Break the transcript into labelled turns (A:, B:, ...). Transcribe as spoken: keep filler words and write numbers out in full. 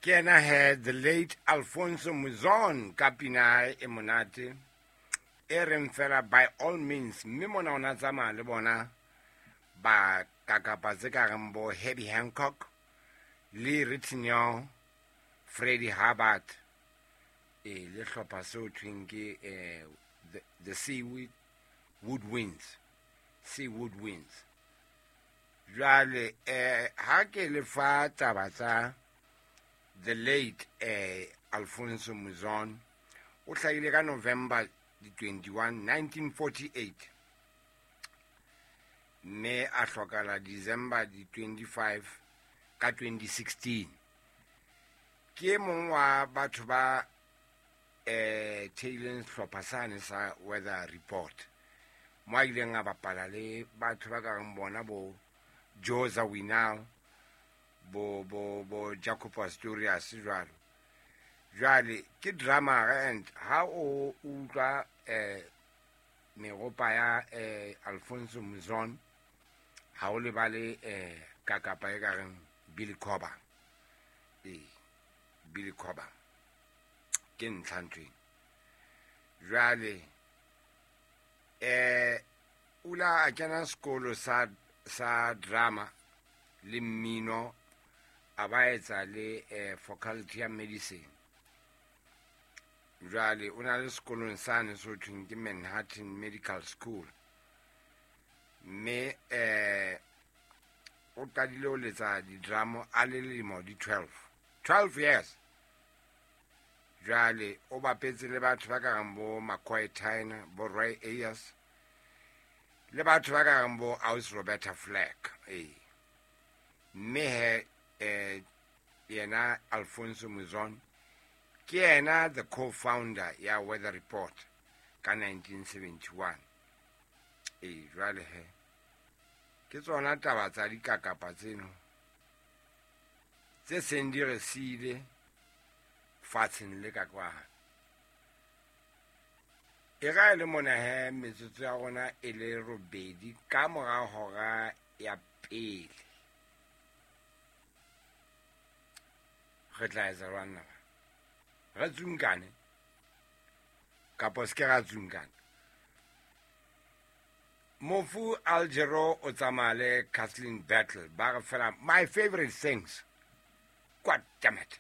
A: Ke yena he, the late Alfonso Muzon ka pina ya hae e monate e reng fela "By All Means". Mme mona o na tsamaya le bona ba kakapa tse ka reng bo Herbie Hancock le Ritenour, Freddie Hubbard, e le hlopha seo thweng ke eh, the, the Sea Woodwinds, Sea Woodwinds. Jwale eh ha ke le fa taba tsa the late eh Alfonso Muzon, o hlahile ka November di twenty-one nineteen forty-eight, mme a hlokala December di twenty-five ka twenty sixteen. Ke e mong wa batho ba eh theileng sehlopha sane sa Weather Report, mo a ileng a bapala le batho ba ka reng bona bo Joe Zawinul, bo bo bo Jaco Pastorius, jwalo jwale. Ke drummer, and ha o utlwa eh meropa ya eh Alfonso Muzon, ha o lebale eh kakapa e ka reng Billy Cobham. Ee, Billy Cobham ke ntlha nthweng. Jwale eh o la a kena sekolo sa sa drama le mmino, a ba etsa le eh, faculty ya medicine. Jwale o na le sekolong sane so thweng ke Manhattan Medical School, mme eh o qadile ho letsa di-drum a le lemo di twelve, twelve years. Jwale o bapetse le batho ba ka reng bo McCoy Tyner, bo Roy Ayers, le batho ba ka reng bo aus Roberta Flack. Ee, mme he eh yena Alfonso Muzon ke yena the co-founder ya Weather Report ka nineteen seventy-one. Ee, jwale he ke tsona taba tsa dikakapa tseno tse seng di re siile fatsheng le ka kwana. E ra e le mona he, metsotso ya rona e le robedi ka mora hora ya pele. Re tla etsa jwang na? Re tsunkane kapo se ke ra tsunkana? Mofu Al Jarreau o tsamaya le Kathleen Battle, ba re fela "My Favorite Things". God damn it.